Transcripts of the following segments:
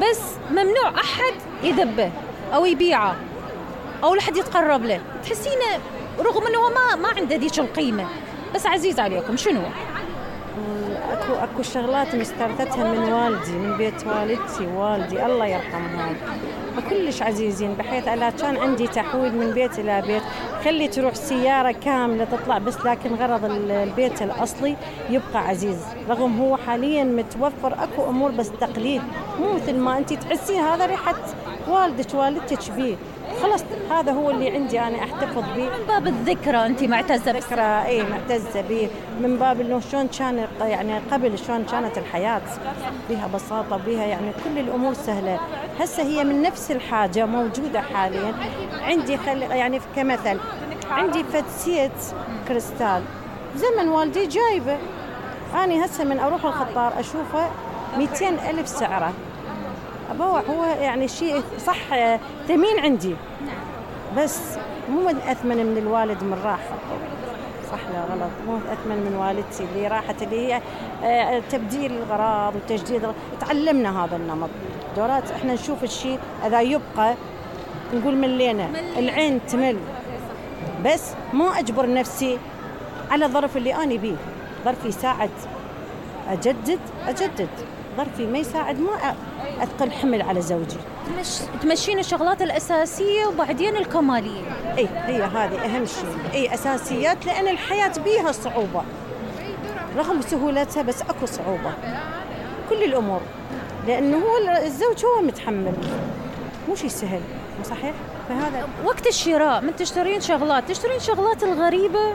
بس ممنوع أحد يذبه أو يبيعه أو لحد يتقرب له. تحسينه رغم أنه ما عنده ذيك القيمة بس عزيز عليكم. شنو؟ اكو شغلات مسترثتها من والدي، من بيت والدتي والدي الله يرحمهم، كلش عزيزين، بحيث أنا كان عندي تحويل من بيت إلى بيت، خلي تروح سيارة كاملة تطلع بس، لكن غرض البيت الأصلي يبقى عزيز. رغم هو حاليا متوفر أكو أمور بس تقليد، مو مثل ما أنت تحسين هذا ريحة والدك والدتك بيه. خلاص هذا هو اللي عندي أنا أحتفظ به من باب الذكرى. أنت معتزة ذكرى؟ إيه معتزة به، من باب إنه شلون كان يعني قبل، شلون كانت الحياة بها بساطة، بها يعني كل الأمور سهلة. هسه هي من نفس الحاجة موجودة حاليا عندي. يعني كمثل عندي فتسيت كريستال زمن والدي جايبه، أنا هسه من أروح الخطار أشوفه 200,000 سعره. أبوع هو يعني شيء صح ثمين عندي، بس مو أثمن من الوالد من راحة. صح لا غلط؟ مو أثمن من والدتي اللي راحت، اللي هي تبديل الغراض وتجديد. تعلمنا هذا النمط دورات، احنا نشوف الشيء إذا يبقى نقول ملينا، العين تمل، بس مو أجبر نفسي على الظرف اللي أنا بيه. ظرفي يساعد أجدد، ظرفي ما يساعد ما أثقل حمل على زوجي. تمشين الشغلات الأساسية وبعدين الكمالية. إيه هي هذه أهم شيء. إيه أساسيات، لأن الحياة بيها صعوبة رغم سهولتها، بس أكو صعوبة كل الأمور، لأنه هو الزوج هو متحمل، مو شيء سهل، صحيح؟ فهذا وقت الشراء من تشترين شغلات الغريبة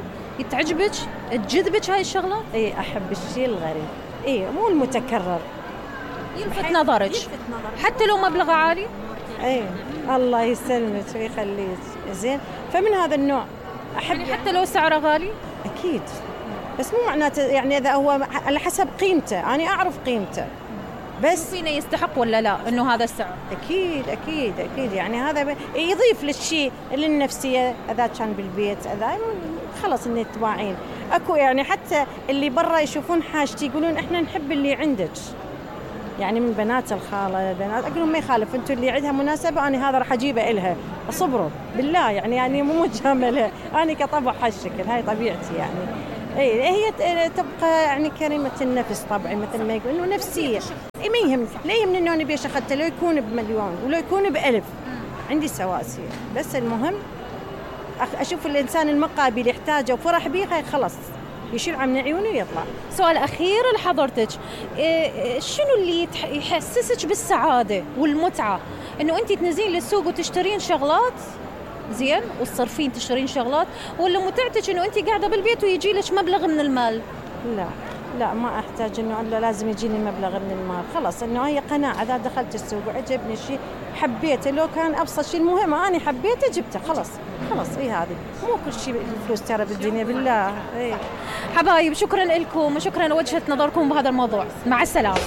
تعجبك تجذبك هاي الشغلات؟ إيه أحب الشيء الغريب، إيه مو المتكرر، يلفت نظرك حتى لو مبلغ عالي. ايه الله يسلمك ويخليك. زين، فمن هذا النوع احب يعني حتى لو سعره غالي. اكيد، بس مو معناته يعني اذا هو على حسب قيمته، انا اعرف قيمته، بس فينا يستحق ولا لا انه هذا السعر. اكيد يعني هذا يضيف للشيء للنفسيه. اذا كان بالبيت اذا خلص ان تباعين اكو يعني حتى اللي برا يشوفون حاجتي يقولون احنا نحب اللي عندك، يعني من بنات الخالة بنات أقول لهم ما يخالف، أنتوا اللي عندها مناسبة أنا هذا راح أجيبه إلها، أصبروا بالله يعني مو مجاملة، أنا كطبع هالشكل، هاي طبيعتي يعني. إيه هي تبقى يعني كريمة النفس طبعا، مثل ما يقول إنه نفسية. إيه ما يهم، لا يهمني إنه أنا بيش أخذته لو يكون بمليون ولو يكون ب1000، عندي سواسية، بس المهم أشوف الإنسان المقابل يحتاجه وفرح بيه، خلاص يشيل عن عيونه ويطلع. سؤال أخير لحضرتك، شنو اللي يحسسك بالسعادة والمتعة؟ إنه أنت تنزلين للسوق وتشترين شغلات زين وتصرفين تشترين شغلات، ولا متعتك إنه أنت قاعدة بالبيت ويجي لك مبلغ من المال؟ لا ما أحتاج إنه لازم يجيني مبلغ من المال، خلاص إنه هي قناعة. إذا دخلت السوق وعجبني شيء حبيته، لو كان أبسط شيء المهم أنا حبيته جبته، خلاص إيه هذه مو كل شيء الفلوس ترى بالدنيا بالله. إيه حبايب، شكرا لكم وشكرا لوجهة نظركم بهذا الموضوع. مع السلامة.